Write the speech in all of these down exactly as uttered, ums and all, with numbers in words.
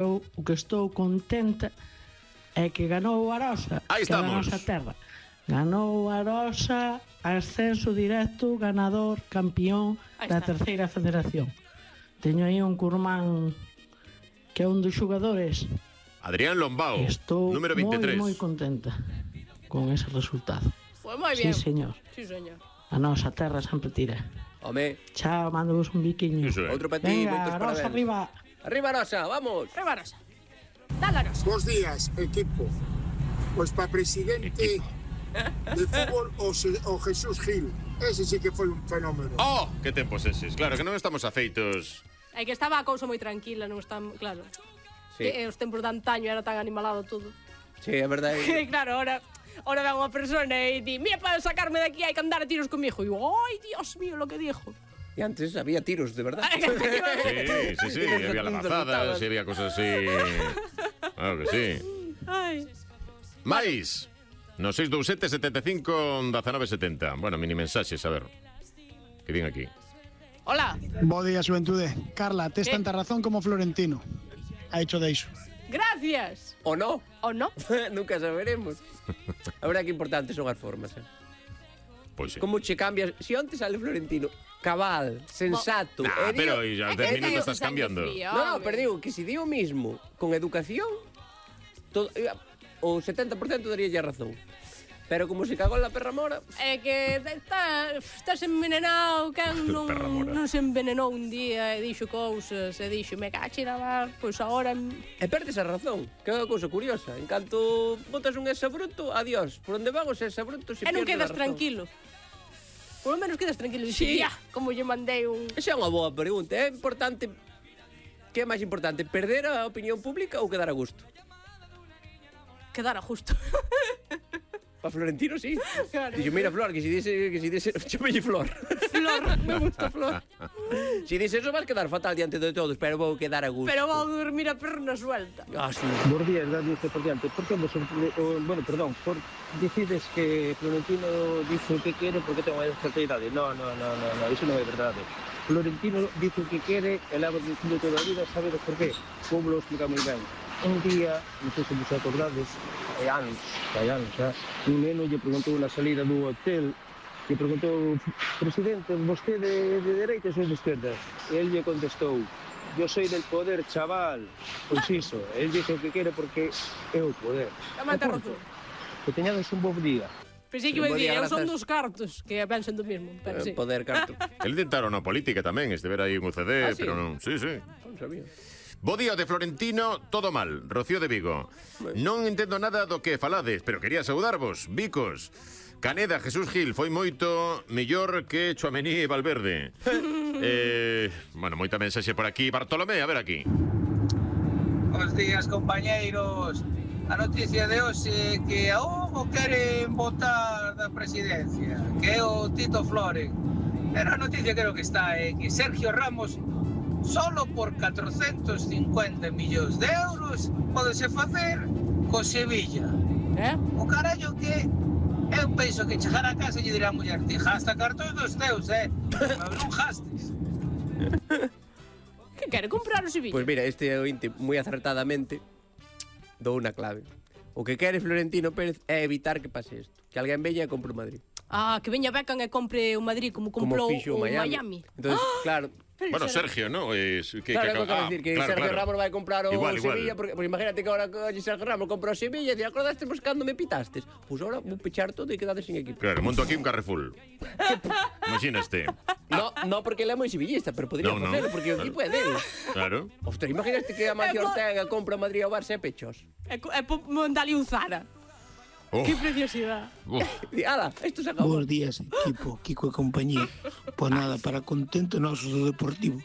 Eu o que estou contenta é que ganou o Arosa, Aí que é da estamos. nosa terra. Ganou o Arosa, ascenso directo, ganador, campeón Aí da está. terceira federación. Teño aí un curmán que é un dos xogadores. Adrián Lombao, Estou número moi, veintitrés. moi contenta con ese resultado. Pues moi Sí, bien. señor. Sí, señor. A nosa terra sempre tira. Home, Chao, mando vos un biquiño. Iso é. outro para ti, Venga, moitos Arosa parabéns. arriba. Arriba, Rosa, vamos. Arriba, Rosa. Dale, Rosa. Bos días, equipo. Pois para presidente de fútbol o, Se- o Jesús Gil. Ese sí que foi un fenómeno. Oh, que tempos eses. Claro que non estamos afeitos. É que estaba a cousa moi tranquila, non están, claro. Sí, Que, eh, os tempos de antaño era tan animalado todo. sí, é verdade. Que claro, ahora ahora ven unha persona e di, mira, para sacarme de aquí hai que andar a tiros comigo. E eu, ai, Dios mío, lo que dijo. E antes había tiros, de verdade. Sí, sí, sí, había labazadas, había cosas así. Claro que sí. Ai. Mais, no seis dous sete, setenta e cinco, diecinueve setenta. Bueno, mini mensaxes, a ver. Que din aquí. Hola. Bo día, xuventude. Carla, tes Eh. tanta razón como Florentino. Ha hecho de iso. Gracias. O no, ¿O no? nunca saberemos. A verdade que importante son as formas, eh. Pois sí. Como che cambias, si onte sale Florentino, cabal, sensato. Nah, e pero digo- ya É dez que minutos digo, estás sangre cambiando. fría, No, no, home. pero digo que si di o mismo con educación, todo, eh, o setenta por cento daría ya razón. Pero como se cagou en la perra mora, É que está, estás envenenado, quen non, Perra mora. non se envenenou un día e dixo cousas, e dixo, me cache na mar, pois agora... e perdes a razón, que é unha cousa curiosa. En canto botas un exabruto, adiós. Por onde van os exabrutos se E non pierde a quedas razón. tranquilo. Por lo menos quedas tranquilo. Sí. Sí. Ya, como lle mandei un... Esa é unha boa pregunta. É importante... Que é máis importante, perder a opinión pública ou quedar a gusto? Quedara justo. Para Florentino, sí. Claro. Dixo, mira, Flor, que si dice... Que si dice... Chámelle Flor. Flor, me gusta Flor. Si dices eso vas quedar fatal diante de todos, pero vou quedar a gusto. Pero vou dormir a perna suelta. Ah, sí. Bos días, Radio Deportiante. Por que vos, o, bueno, perdón, por decides que Florentino dice o que quere porque ten unha certa idade? No, no, no, no, no, iso non é verdade. Florentino dice o que quere e leva dicindo toda a vida, sabedes por qué? Como lo explica moi ben. Un día, non sei se vos acordades, hai anos, hai anos, xa, un neno lle preguntou na salida do hotel, lle preguntou, presidente, vostede de dereitas ou de esquerdas? E el lle contestou, yo soy del poder, chaval. Pois iso, el dice o que quere porque é o poder. Tamén ten E razón. punto. Que teñades un bo día. Pensei que Bo me día, dicía, eu son grazas. dos cartos, que pensan do mismo, pero sí. Eh, Poder carto. El intentaron na política tamén, este ver aí un C D, Ah, sí? pero non. Sí, sí. Non sabía. Bo día de Florentino, todo mal. Rocío de Vigo. Non entendo nada do que falades, pero quería saudarvos, bicos. Caneda, Jesús Gil, foi moito mellor que Tchouaméni e Valverde. eh, bueno, moita mensaxe por aquí. Bartolomé, a ver aquí. Bos días, compañeiros. A noticia de hoxe é que a Hugo queren votar da presidencia, que é o Tito Flores. Pero a noticia creo que está é que Sergio Ramos solo por catrocentos cincuenta millóns de euros podese facer co Sevilla. Eh? O carallo que eu penso que chegar a casa e lle dirá a muller, ti gasta cartón dos teus, eh? Pero non gastes. Que quere comprar o Sevilla? Pois mira, este ointe moi acertadamente dou unha clave. O que quere Florentino Pérez é evitar que pase isto. Que alguén veña e compre o Madrid. Ah, que veña Beckham e compre o Madrid como comprou Como fixo o o Miami. Miami. Entonces, claro, Pero Bueno, será- Sergio, ¿no? Es, que, claro, que, é o que quero ah, decir, que claro, Sergio claro. Ramos vai comprar o Igual, igual. Sevilla, porque, porque imagínate que ahora que Sergio Ramos compra o Sevilla e dice, acordaste pues, cando me pitastes? Pois pues ahora vou pechar todo e quedades sin equipo. Claro, monto aquí un Carrefour. Imaginaste. No, no porque ele é moi sevillista, pero podría No, no. facelo, porque o equipo é dele. Claro. Ostras, imaginaste que a Macio É po- Ortega compra o Madrid ao Barça e pechos. É, co- é po- mandale un Zara. Oh, Que preciosidade. oh. Di, ala, isto se acabou. Bos días, equipo, Kiko e compañía. Pois nada, para contento nosos do Deportivo,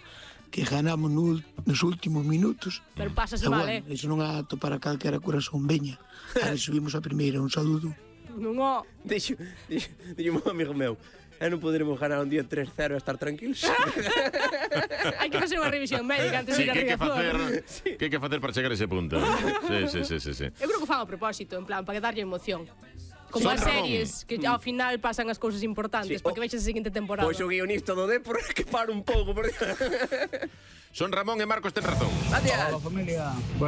que ganamos no, nos últimos minutos. Pero pásase E mal, bueno, eh. iso non é apto para calquera corazón veña. Ahora subimos a primeira, un saludo. Non o... Dixo, dixo, dixo un amigo meu, e non poderemos ganar un día tres cero e estar tranquilos. Hai que facer unha revisión médica antes Sí, de ir a que hai que facer, Riazor. que hai que facer para chegar a ese punto. Sí, sí, sí, sí, sí. Eu creo que o fan a propósito, en plan, para darlle emoción. Como Son as Ramón. series, que ao final pasan as cousas importantes, Sí, para que o- vexas a seguinte temporada. Pois o guionista do Depor que para un pouco. Por... Son Ramón e Marcos ten razón. Gracias. Hola, familia. Bueno,